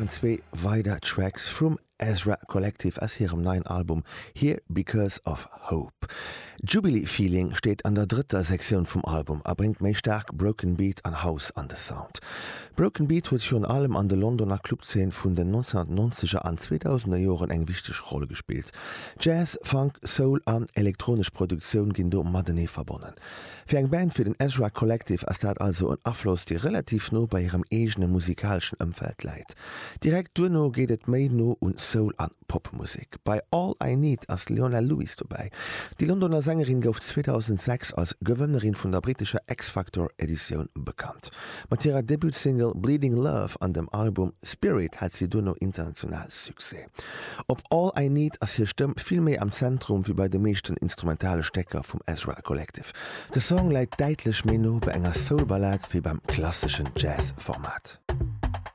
waren zwee weider Tracks vum Ezra Collective aus hirem neien Album Here Because of Hope. Jubilee Feeling steet an der drëtter Sektioun vum Album a bréngt méi staark Broken Beat an House an de Sound. Broken Beat huet virun allem an de Londoner Clubzeen vun den 1990er an 2000er Joren eng wichteg Roll gespillt. Jazz, Funk, Soul an elektronesch Produktioun ginn do matenee verbonnen. Fir eng Band wéi den Ezra Collective ass dat also en Afloss, dee relativ no bei hirem eegene musikaleschen Ëmfeld läit. Direkt duerno geet et méi no un Soul an Popmusek. Bei All I Need ass d'Leona Lewis dobäi. Déi Londoner Sängerin gouf 2006 als Gewënnerin vun der brittescher X-Factor-Editioun bekannt. Mat hirer Debut-Single Bleeding Love an dem Album Spirit hat si duerno international Succès. Op All I Need ass hir Stëmm vill méi am Zentrum wéi bei de meeschten instrumentale Stécker vum Ezra Collective. De Song läit däitlech méi no bei enger Soul-Ballad wéi beim klasseschen Jazz-Format.